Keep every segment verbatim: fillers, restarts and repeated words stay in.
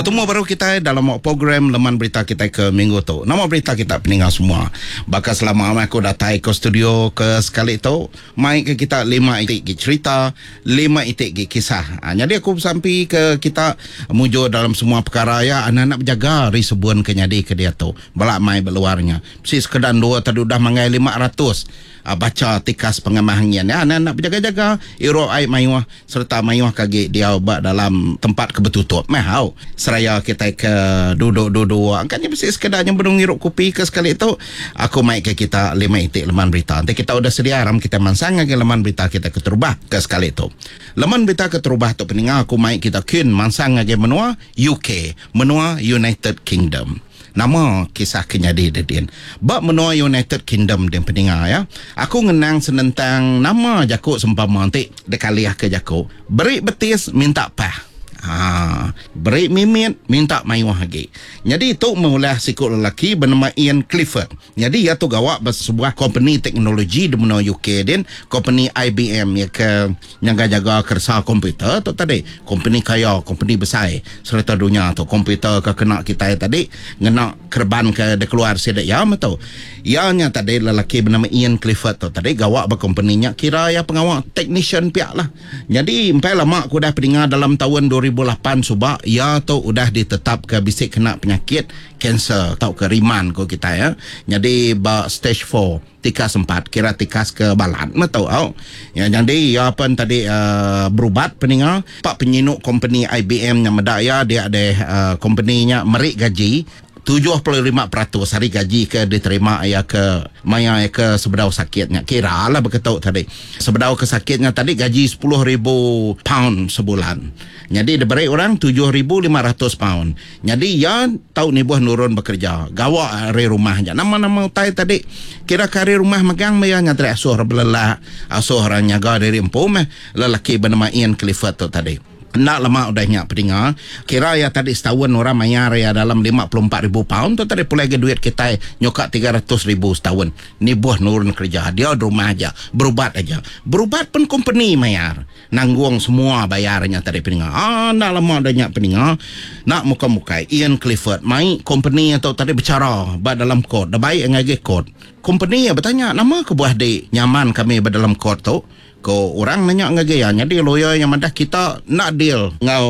Betemu baru kita dalam program Leman Berita kita ke minggu tu. Nama berita kita peninga semua. Baka selama aku datai ke studio ke sekali tu, mai ke kita lima itik ki cerita, lima itik ki kisah. Ha, jadi aku sampai ke kita mujur dalam semua perkara ya, anak-anak berjaga ri sebuan ke nyadi ke dia tu. Balak mai berluarnya. Si sekedar dua tadi udah mangai lima ratus. Baca tikas pengemahangian ya, anak-anak berjaga-jaga iro ai mayuh serta mayuh kagi dia ba dalam tempat kebetutup meh hau seraya kita ke duduk-duduk kan mesti sekedar yang benung ngirup kopi ke sekali tu aku mai ke kita lima itik leman berita. Nanti kita udah sedia ram kita mansang lagi leman berita kita keterubah ke sekali tu. Leman berita keterubah tu peninga aku mai kita kin mansang lagi menua U K, menua United Kingdom. Nama kisah kenyadi dedin. Bab menua United Kingdom den peninga ya. Aku ngenang senentang nama jakuk sempama nanti dekaliah ke jakuk. Beri betis minta pah. Ha, beri mimit minta mayuh lagi. Jadi tu mengulah sikut lelaki bernama Ian Clifford. Jadi ia tu gawak sebuah company teknologi di menua U K din, company I B M ya ke yang jaga kerja komputer tu tadi, company kaya, company besar serta dunia tu komputer ke kena kita tadi ngena kerban ke dia keluar sidak ya betul. Ianya tadi lelaki bernama Ian Clifford tu tadi gawak berkompaninya kira ya pengawak technician pihak lah. Jadi empai lama aku dah pendengar dalam tahun dua ribu lapan subak ia tu udah ditetap ke bisik kena penyakit kanser atau ke riman ko kita ya. Jadi ba stage four tikas empat kira tikas ke balan betul au. Ya jadi ya apa tadi uh, berubat peninga pak penyinuk company I B M yang medak ya dia ada uh, company-nya merik gaji tujuh puluh lima peratus hari gaji ke diterima ya ke maya ya ke sebedau sakitnya kira lah berketuk tadi sebedau ke sakitnya tadi gaji sepuluh ribu pound sebulan. Jadi diberi orang tujuh ribu lima ratus pound. Jadi ya tahu ni buah nurun bekerja gawak hari rumah je nama-nama utai tadi kira ke hari rumah megang maya nyatri asuh belelah asuh orang nyaga dari empu meh lelaki bernama Ian Clifford tu tadi. Nak lama udah nyak peninga kira ya tadi setahun orang mayar ya dalam lima puluh empat ribu pound tu tadi pulai ke duit kita nyokak tiga ratus ribu setahun. Ni buah nurun kerja dia di rumah aja berubat aja berubat pun company mayar nanggung semua bayarnya tadi peninga. Ah nak lama udah nyak peninga nak muka-muka Ian Clifford mai company atau tadi bicara ba dalam court dah baik ngagi court company ya bertanya nama ke buah di nyaman kami ba dalam court tu. Ko orang nanya ngagi ya jadi lawyer yang madah kita nak deal ngau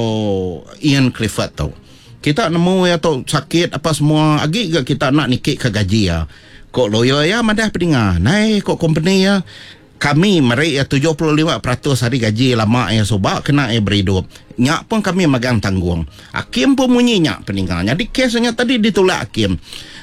Ian Clifford tu. Kita nemu ya tu sakit apa semua agi ke kita nak nikik ke gaji ya. Ko lawyer ya madah peninga. Nai ko company ya kami merik ya tujuh puluh lima peratus hari gaji lama ya sobak kena ya berhidup. Nyak pun kami megang tanggung. Hakim pun bunyi nyak peninga. Jadi kesnya tadi ditolak hakim.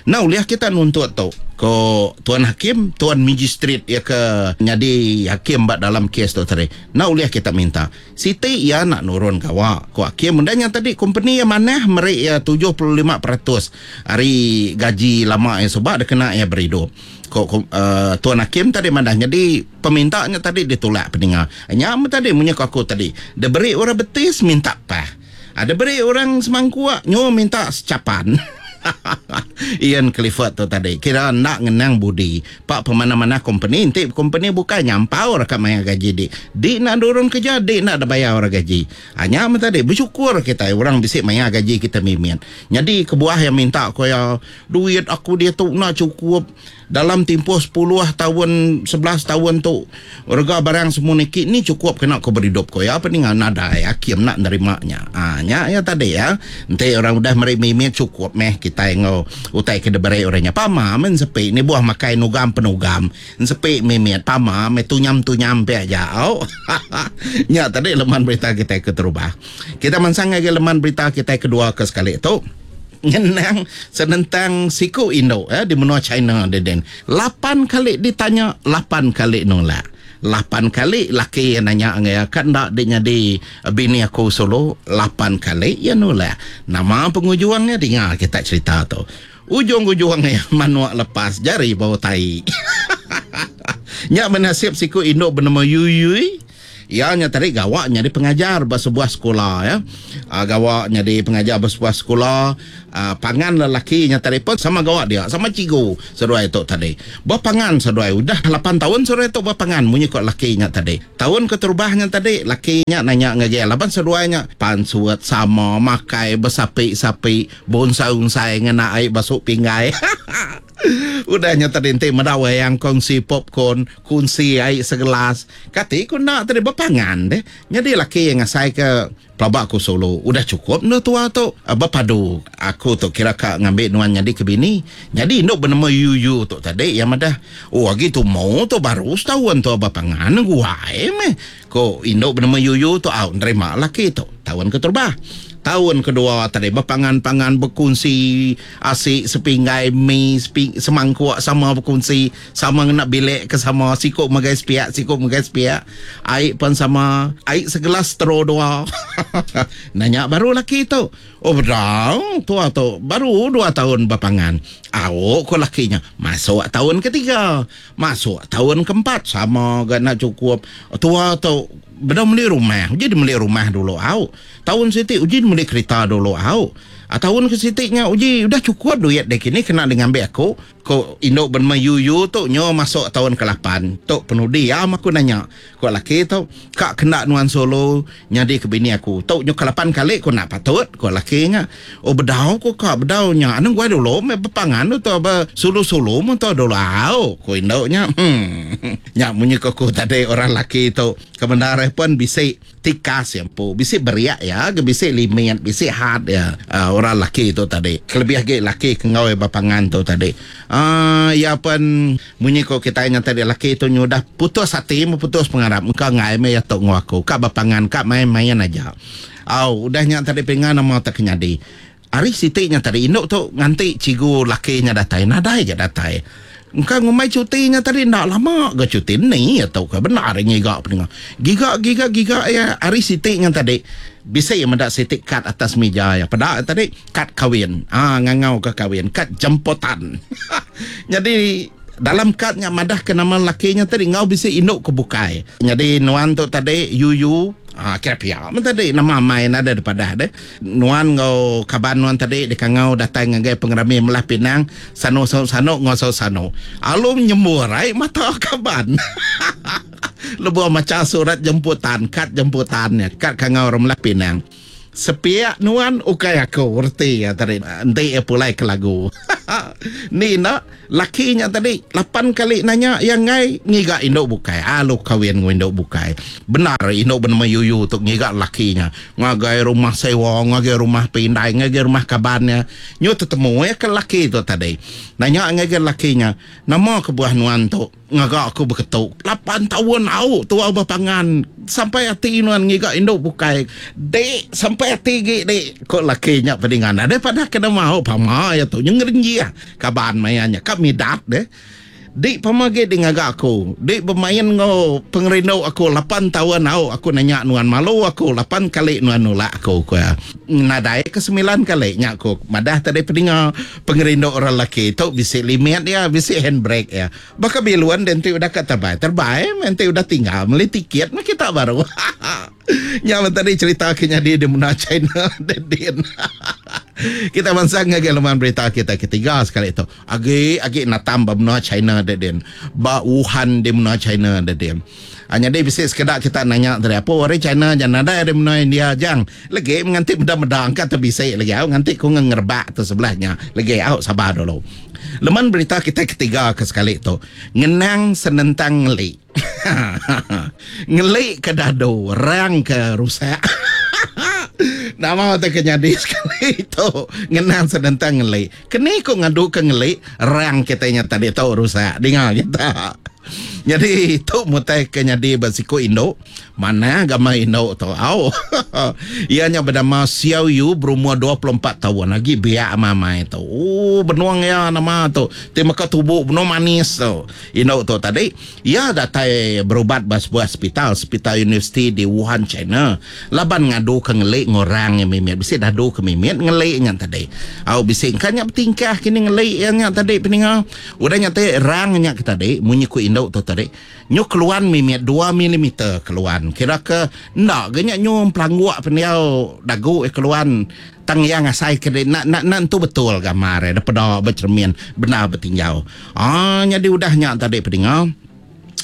Nah uliah kita nuntut tu. Ko tuan hakim, tuan magistrate ya ke jadi hakim bak dalam kes tu tadi. Nah uliah kita minta. Siti ya nak nurun kawa. Ko hakim mendanya tadi company yang mana merik ya tujuh puluh lima peratus hari gaji lama ya sebab dia kena ya berhidup. Ko, ko uh, tuan hakim tadi madah jadi pemintaannya tadi ditolak peninga. Nyam tadi munyi aku tadi. Dia beri orang betis minta pah. Ada beri orang semangkuk nyo minta secapan. Ian Clifford tu tadi kira nak ngenang budi pak pemana-mana company nanti company bukan nyampau rakat maya gaji di di nak dorong kerja di nak ada bayar orang gaji hanya tadi bersyukur kita orang bisik maya gaji kita mimin. Jadi kebuah yang minta ko ya duit aku dia tu nak cukup dalam tempoh sepuluh tahun sebelas tahun tu harga barang semua nikik ni cukup kena kau berhidup ko ya apa ni nadai hakim nak nerimanya. Ah nya ya tadi ya nanti orang udah meri mimit cukup meh kita ngau utai ke debere orangnya pama men sepi ni buah makai nugam penugam sepi mimit pama me tunyam tunyam pe aja au. Nya tadi leman berita kita ke terubah. Kita mansang lagi leman berita kita kedua ke sekali tu ngenang senentang siku Indo eh, di menua China deden. Lapan kali ditanya, lapan kali nolak. Lapan kali laki yang nanya ngai kan dak dia jadi bini aku solo, lapan kali ya nolak. Nama pengujuangnya dengar kita cerita tu. Ujung-ujungnya manuak lepas jari bau tai. Nyak menasib siku Indo bernama Yuyui. Iya nya tadi gawa nyadi pengajar ba sebuah sekula ya. Uh, gawa nyadi pengajar ba sebuah sekula. Uh, pangan lelaki nya tadi pun sama gawa dia, sama cikgu seduai tu tadi. Bepangan seduai udah lapan tahun seduai tu bepangan munyi ko laki nya tadi. Tahun keterubah nya tadi laki nya nanya ngagai laban seduai nya pansuat sama makai besapi-sapi bonsai-unsai ngena ai basuk pinggai. Udah nya tadi enti meda wayang kongsi popcorn, kongsi ai segelas. Kati ku nak tadi bepangan deh. Jadi laki yang ngasai ke pelabak aku solo udah cukup nu tua tu berpadu. Aku tu kira ka ngambil nuan jadi ke bini. Jadi induk bernama Yuyu tu tadi yang madah oh agi tu mau tu baru setahun tu bepangan guai meh. Ko induk bernama Yuyu tu au nerima laki tu tahun keterubah. Tahun kedua tadi berpangan-pangan berkongsi asik sepinggai mi seping, semangkuk sama berkongsi sama ngena bilik ke sama sikuk megai sepiak sikuk megai sepiak air pun sama air segelas tero dua. Nanya baru laki tu oh bedau tua tu baru dua tahun berpangan. Au ko lakinya masuk tahun ketiga masuk tahun keempat sama gak nak cukup tua tu bedau beli rumah uji beli rumah dulu au. Tahun siti uji beli kereta dulu au. Tahun ke siti nya uji udah cukup duit dek kini kena ngambil aku. Ko induk bernama Yuyu tu nyo masuk tahun ke lapan. Tu penudi am aku nanya. Ko laki tu kak kena nuan solo nyadi ke bini aku. Tu nyo ke lapan kali ko nak patut ko laki nya. Oh bedau ko kak bedau nya. Anu gua dulu me bepangan tu be sulu-sulu mun tu dulu au ko induknya. Hmm. Nya munyi ko ku tadi orang laki tu kebenaran pun bisi tikas yang pu bisi beriak ya, bisi limit, bisi had ya. Uh, orang laki tu tadi. Kelebih lagi laki ke ngau bapangan tu tadi. Ah uh, ya pun munyi ko kita nya tadi laki tu nyudah putus hati, putus pengarap. Engkau ngai me ya tok ngau aku. Kak bapangan, kak main-main aja. Au, udah nya tadi pengan nama tak kenyadi. Hari siti nya tadi induk tu nganti cikgu laki nya datai, nadai ke datai. Engkau ngumai cuti nya tadi ndak lama ke cuti ni atau ke benar ngiga pendengar. Giga giga giga ya hari siti nya tadi bisa ya mendak siti kad atas meja ya. Pada tadi kad kawin. Ah ngangau ke kawin, kad jemputan. Jadi dalam kadnya madah ke nama lakinya tadi ngau bisa induk ke bukai. Jadi nuan tu tadi Yuyu ah kira pia men tadi nama main ada daripada deh. Nuan ngau kaban nuan tadi dikangau datang ngagai pengerami melah pinang sano sano sano ngau sano sano. Alum nyembur ai mata kaban. Lebuh maca surat jemputan, kad jemputannya, kad kangau orang melah pinang. Sepiak nuan ukai aku reti ya tadi enti ya pulai ke lagu. Ni nak lakinya tadi lapan kali nanya yang ngai ngiga induk bukai. Alu kawin ngu induk bukai. Benar induk bernama Yuyu tu ngiga lakinya. Ngagai rumah sewa, ngagai rumah pindai, ngagai rumah kabannya. Nyu tetemu ya ke laki tu tadi. Nanya ngagai lakinya, nama kebuah nuan tu ngaga aku berketuk. Lapan tahun au tua berpangan sampai hati nuan ngiga induk bukai. Dek sampai hati gi dek kok lakinya pedingan. Ada pada kena mau pama ya tu nyengrenji ah kaban mayanya kap midat deh. Dik pamagi di ngaga aku. Dik bermain ngau pengerindu aku lapan tahun au aku nanya nuan malu aku lapan kali nuan nolak aku ku. Nadai ke sembilan kali nya aku. Madah tadi peninga pengerindu orang laki tu bisi limit ya, bisi handbrake ya. Baka biluan dan ti udah kat terbai. Terbai nanti udah tinggal beli tiket mah kita baru. Nya tadi cerita kenya di di mana China Dedin. Kita bangsa ngagai laman berita kita ketiga sekali tu. Agi agi natam ba benua China Dedin. Ba Wuhan di benua China Dedin. Hanya dia bisa sekedar kita nanya tadi apa orang China jangan ada di benua India jang. Lagi menganti benda-benda angkat terbisa lagi au nganti ku ngerebak tu sebelahnya. Lagi au sabar dulu. Leman berita kita ketiga ke sekali tu. Ngenang senentang ngeli. Ngeli ke dadu, rang ke rusak. Nama tu kenyadi sekali tu. Ngenang senentang ngeli. Keni ku ngadu ke ngeli, rang kitanya tadi tu rusak. Dengar kita. Jadi tu mutai kenyadi bersiku induk. Mana agama induk tu? Au. Ianya bernama Xiao Yu berumur dua puluh empat tahun lagi biak mamai tu. Oh, benuang ya nama tu. Ti maka tubuh benuang manis tu. Induk tu tadi ia datai berubat ba sebuah hospital, hospital universiti di Wuhan, China. Laban ngadu ke ngelik ngorang yang mimit. Bisi dadu ke mimit ngelik nya tadi. Au bisi kan nya bertingkah kini ngelik nya tadi peninga. Udah nya tadi rang nya ke tadi munyi ku induk indu tu tadi nyu keluan mimit dua milimeter keluan. Kira ke enda ga nya nyu pelangguk pendiau dagu iya keluan tang iya ngasai ke nak nak nak entu betul gambar iya daripada becermin bendar betinjau. Ah nyadi udah nya tadi pedinga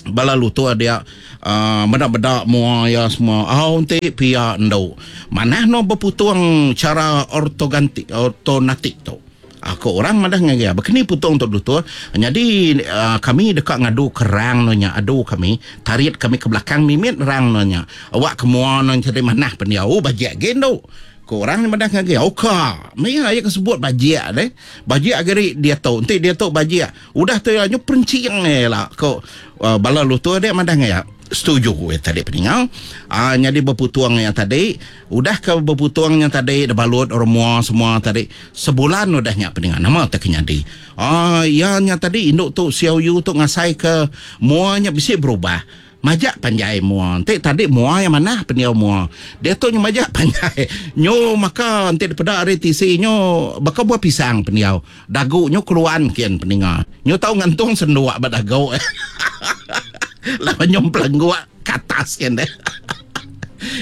bala lutur dia uh, meda-meda mua iya semua. Oh enti pia endu manah no beputung cara ortogantik ortonatik tu. Aku orang madah ngagai iya, bekeni putung tu lutur. Nyadi uh, kami deka ngadu kerang no nya, adu kami, tarit kami ke belakang mimit rang no nya. Awak ke mua no jadi manah pendiau. Oh bajik ge endu. Ko orang madah ngagai, oka. Maya iya ke sebut bajik deh. Bajik agari dia tu. Enti dia tu bajik, udah tu iya nyu perencing eh lah. Ko uh, bala lutur dia madah ngagai, setuju eh tadi peningal. Ah nyadi berputung yang tadi, udah ke berputung yang tadi dibalut orang mua semua tadi. Sebulan udah nya peningal. Nama tak nyadi. Ah ya nya tadi induk tu Xiao Yu tu ngasai ke muanya bisi berubah. Majak panjai mua. Enti tadi mua yang mana pendiau mua. Dia tu nyu majak panjai. Nyu maka enti daripada ari T C nyu baka buah pisang pendiau. Dagu nyu keluan kian peninga. Nyu tau ngantung senduk ba dagu. Laban nyu pelengguk ke atas kian deh.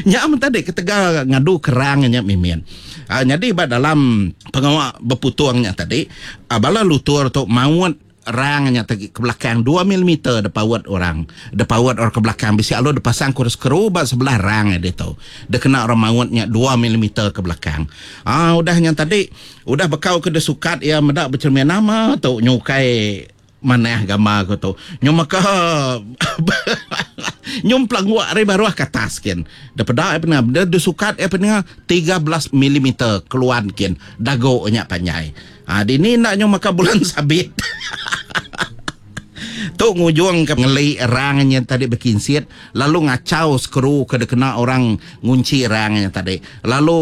Nya amat tadi ketegal ngadu kerang nya mimin. Uh, jadi ba dalam pengawa berputungnya tadi, uh, bala lutur tu maut rang nya tadi ke belakang dua milimeter depaut orang. Depaut orang ke belakang bisi alu dipasang kurus keru ba sebelah rang dia tu. Dia kena orang mautnya dua milimeter ke belakang. Ah udah nya tadi, udah bekau ke desukat ya medak bercermin nama tu nyukai manah gambar ko tu. Nyu maka nyum pelangguk ari baruh ke atas kin. Daripada apa ni dia disukat apa ni tiga belas milimeter keluan kin. Dagu nya panjai. Ah dini nak nyu maka bulan sabit. Tu ngujung ke ngeli rangnya tadi berkinsit lalu ngacau skru ke kena orang ngunci rangnya tadi, lalu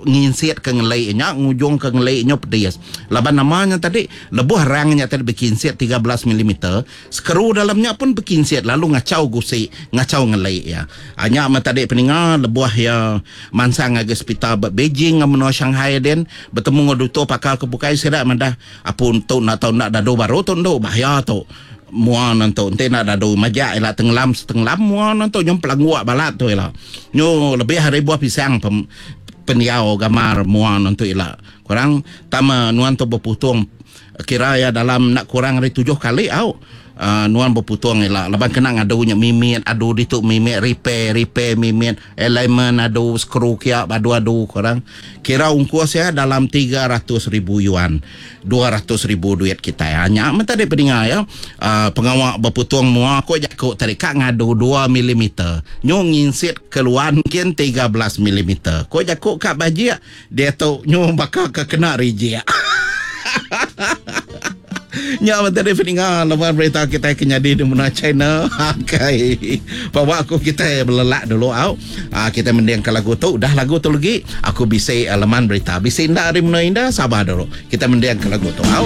nginsit ke ngeli nya, ngujung ke ngeli nya pedis laban namanya tadi lebuh rangnya tadi berkinsit tiga belas milimeter, skru dalamnya pun berkinsit lalu ngacau gusi, ngacau ngeli ya. Hanya mah tadi peninga, lebuh ya mansang ngagai hospital Beijing ngam menua Shanghai den bertemu dengan doktor pakar ke bukai sida madah apa untuk nak tahu nak dadu baru tu nduk bahaya tu mua nantu enti nak dadu majak ila tenggelam setenggelam mua nantu nyum pelangguak balat tu ila nyu lebih hari buah pisang pem, pendiau gamar mua nantu ila kurang tama nuan tu berputung kira ya dalam nak kurang hari tujuh kali au uh, nuan berputung ila laban kena ngadunya mimit adu ditu mimit, repair repair mimit, alignment adu, skru kia adu adu kurang kira ungkus ya dalam tiga ratus ribu yuan, dua ratus ribu duit kita. Hanya ya. Tadi pendengar ya, uh, pengawak berputung mua ko jakuk tadi kak ngadu dua milimeter nyu nginsit keluar mungkin tiga belas milimeter, ko jakuk kak bajik dia tu nyu bakal ke kena reject. Nya tadi pendengar lepas berita kita kenyadi di menua China. Okay. Bawa aku kita belelak dulu au. Ah, kita mending ke lagu tu. Dah lagu tu lagi aku bisa uh, leman berita. Bisa indah dari menua indah, sabar dulu. Kita mending ke lagu tu au.